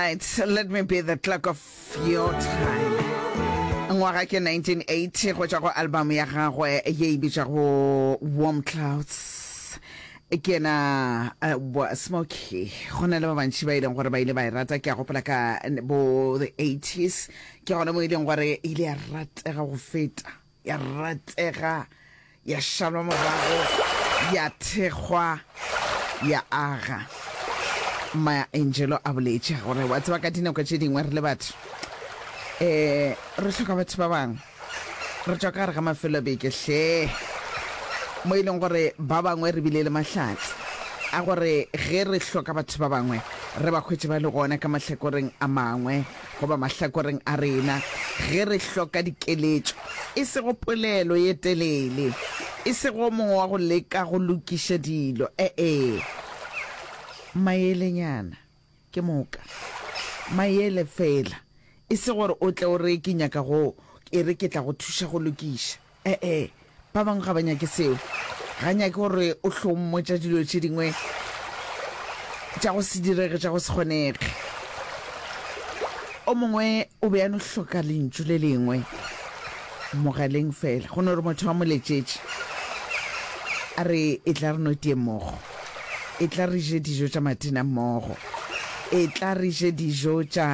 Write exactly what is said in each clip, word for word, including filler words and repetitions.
right, let me be the clock of your time. Ngwaga ke nineteen eighty go tšwa go album ya gagwe ye e bitšwago Warm Clouds. Ke yena uh, Smokey. Go na le ba bantši ba e leng gore ba ile ba e rata, ke a gopola ka bo the eighties ke gona mo e leng gore e ile ya ratega go feta, ya ratega, ya šalwa morago, ya thekgwa, ya aga. Maya Angelou a boletše gore wa tseba ka dinako tše dingwe re le batho um re hloka batho ba bangwe, re tšwa ka gare ga mafelo a beke hle mo e leng gore ba bangwe re bile le mahlatse a gore ge re hloka batho ba bangwe re ba hwetše ba le gona ka mahlakoreng a mangwe goba mahlakoreng a rena ge re hloka dikeletšo, e sego polelo ye telele, e sego mongwe wa go leka go lokiša dilo, e-e, maelenyana ke moka, maele fela, e se gore o tle o re ke nyaka go, e re ke tla go thuša go lokiša, e-e, ba bangwe ga ba nyake seo, ga nyake gore o hlo mmotša dilo tše dingwe tša go se direge, tša go se kgonege. O mongwe o be a no hloka lentšu le lengwe mogaleng fela, go no re motho a mo letšetše a re e tla re no tie mmogo, e tla re je dijo tša matina mmogo, e tla re je dijo tša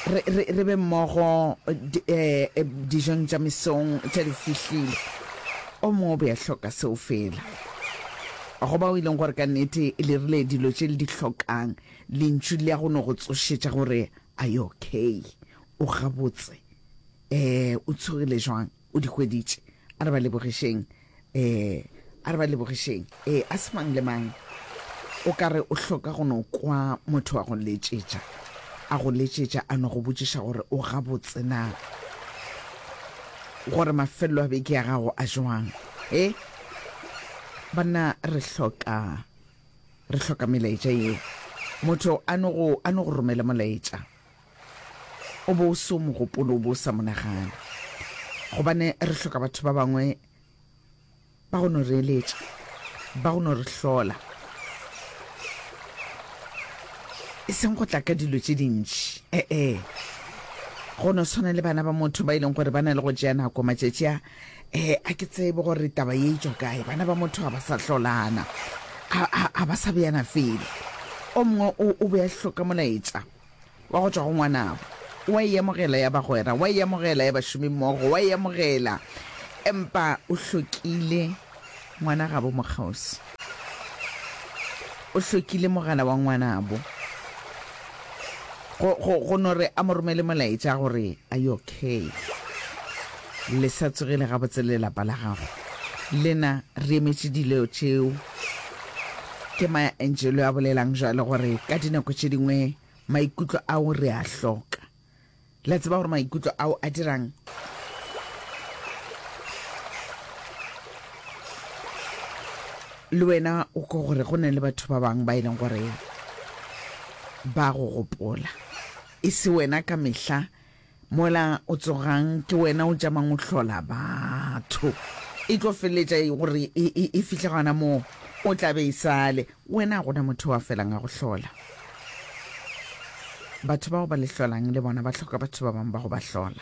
re, re, re be mmogo eh, dijong tša mesong tša di fihlile. O mongwe o be a hloka seo fela. Go bao e leng gore ka nnete le rile dilo tše le di hlokang, lentšu le ya go no go tsošetša gore are you okay, o gabotse, eh, o tsogile jwang, o di hweditše. A re ba lebogišeng, eh, a re ba lebogišeng. Eh, a se mang le mang o ka re o hloka go no kwa motho wa go letšetša, a go letšetša a no go botšiša gore o gabotse na, gore mafelelo a beke ya gago a jwang. Eh, banna re hloka, re hloka melaetša yeo. Motho a no go, a no go romela molaetša, o bo o se o mo gopole, o bo o sa monagane, gobane re hloka batho ba bangwe ba go no re eletša, ba go no re hlola, e seng go tla ka dilo tše dintši. E-e, go no swana le bana ba motho ba e leng gore ba na le go tšea nako matšatši a, eh, a ke tsebe gore taba ye e tšwa kae. Bana ba motho ga ba sa hlolana, a, a, a ba sa beana felo. O mongwe o, o be a hloka molaetša wa go tšwa go ngwanabo, wa e amogela ya bagwera, wa e amogela ya bašomimmogo, wa e amogela, empa o hlokile ngwana gabo mokgauswi, o hlokile mogala wa ngwanabo go, go, go no re a mo romele molaetša gore are you okay, le sa tsogile gabotse le lapa la gago, lena re emetše dilo tšeo. Ke Maya Angelou a bolelang jwalo gore ka dinako tše dingwe maikutlo ao re a hloka. La tseba gore maikutlo ao a dirang? Le wena o ko gore go na le batho ba bangwe ba e leng gore ba go gopola, e se wena ka mehla mola o tsogang ke wena o tšamang o hlola batho, e tlo feleletša gore e, e, e fihle gona moo o tla be e sale wena, gona motho wa felang a go hlola. Batho bao ba le hlolang le bona ba hloka batho ba bangwe ba go ba hlola,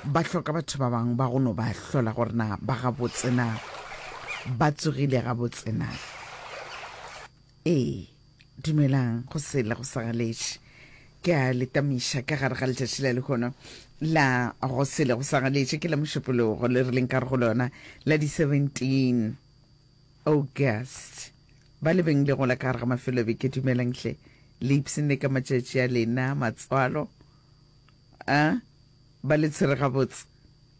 ba hloka batho ba bangwe ba go no ba hlola gore na ba gabotse na, ba tsogile gabotse na. Ee, dumelang go sele go sa galetše, ke a le tamiša ka gare ga letšatši la lehono la go sele go sa galetše, ke la mošupologo le re leng ka re go lona la di seventeen August. Ba le beng le gola ka gare ga mafelo a beke, dumelang hle, le ipshinne ka matšatši a lena matswalo, a ba le tshwere gabotse,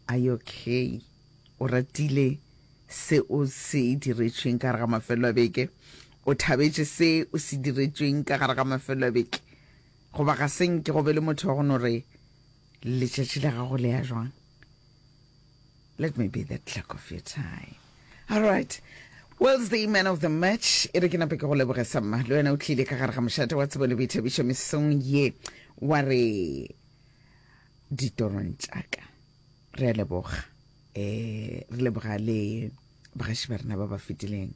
are you okay, o ratile se o se diretšweng ka gare ga mafelo a beke, o thabetše se o se diretšweng ka gare ga mafelo a beke, goba ga se nke go be le motho wa go no re letšatši la gago le ya jwang. Let me be the clock of your time. All right, Wells the man of the match, e re ke nape ke go leboge samma, le wena o tlile ka gare ga mošate wa tsebo le boithabišo mesong ye wa re ditorong tšaka. Re a leboga, eh, re leboga le bagaši ba rena ba ba fetileng,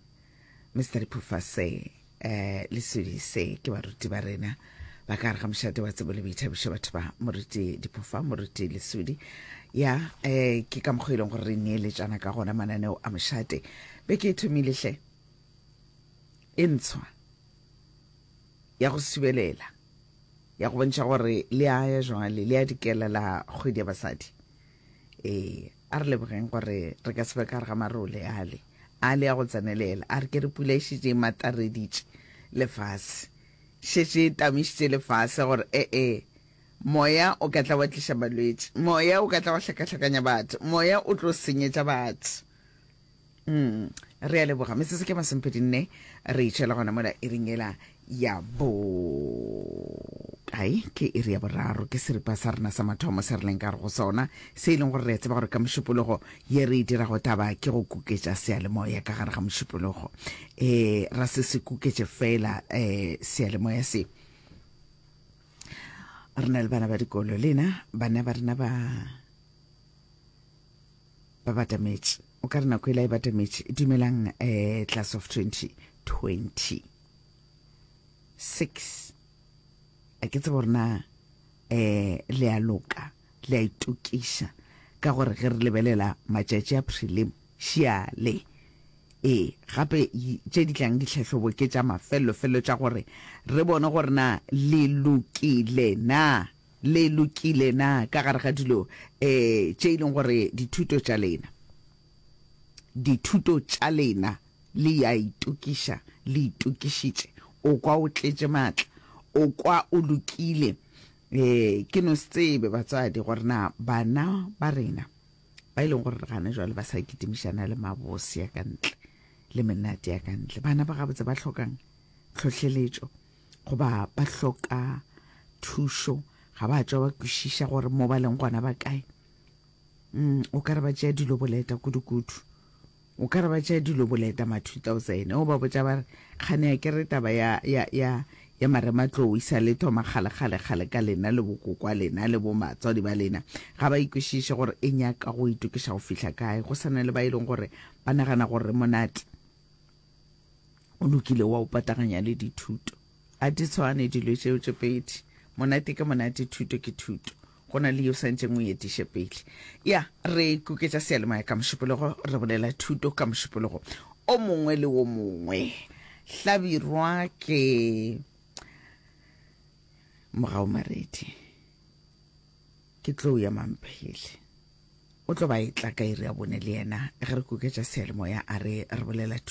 Mister Diphofase um Lesodi. Se ke baruti ba rena ba ka gare ga mošate wa tsebo le boithabišo, batho ba moruti Diphofa, moruti Lesodi. Ya, um ke ka mokgwa e leng gore re neeletšana ka gona mananeo a mošate. Beke e thomile hle, e ntshwa ya go subelela, ya go bontšha gore le a ya jwale le a dikela la kgwedi ya basadi. Ee, a re lebogeng gore re ka se be ka gare ga marole ale ale ya go tsenelela. A re ke re pula e šetše e matareditše lefase, šetše e tamišitše lefase gore ee, moya o ka tla wa tliša malwetši, moya o ka tla wa hlakahlakanya batho, moya o tlo senyetša batho. Mm, re a leboga. Metsotso ke masomepedi nne re itšhela gona mola iring ela ya bo kae, ke iri ya boraro. Ke seripa sa rena sa mathomo se re leng ka re go sona, se e leng gore re a tseba gore ka mošupologo ye re e dirago taba ke go kuketša seyalemoya ka gare ga mošupologo. Um ra se se kuketše fela um seyalemoya se, re na le bana ba dikolo, lena bana ba rena ba ba batametše, o ka re nako e la e batametše. Dumelang, um class of twenty twenty six, a ke tsebe gore na um le a loka, le a itokiša, ka gore ge re lebelela matšatši a prelim šiale, ee, gape tše di tlang ditlhahlobo ke tša mafelelo-felelo tša gore re bone gore na le lokile na, le lokile na ka gare ga dilo um tše e leng gore dithuto tša lena, dithuto tša lena le ya itokiša, le itokišitše. O kwa o tletše maatla, o kwa o lokile. Um ke no se tsebe batswadi gore na bana ba rena ba e leng gore re gana jwale ba sa kitimišana le mabose ya ka ntle le menate ya ka ntle, bana ba gabotse ba hlokang tlhohleletšo goba ba hloka thušo, ga ba tšwa ba kwešiša gore mo ba leng gona ba kae. Mm, o ka re ba tšea dilo boleta kudu-kudu, o ka re ba tšea dilo boleta ma two thousand. O ba botša ba re kgane ya ke re taba ya ya ya ya marematlou e sa le thoma kgale kgale kgale ka lena le bokokwa lena le bo matswadi ba lena, ga ba ikwešiše gore e nyaka go itokiša go fihla kae. Go sana le ba e leng gore ba nagana gore monate o lokile wa o pataganya le dithuto. A di tshwane dilo tšeo tše pedi, monate ke monate, thuto ke thuto, go na le yo santšeng o etiše pele. Ya re kuketša seyalemoya ka mošupologo, re bolela thuto ka mošupologo o mongwe le wo mongwe. Hlabirwa ke Mogau Maredi, ke tlou ya Mamphele, o tlo ba e tla ka iri ya bone le yena ge re kuketša seyalemoya, a re re bolela thuto.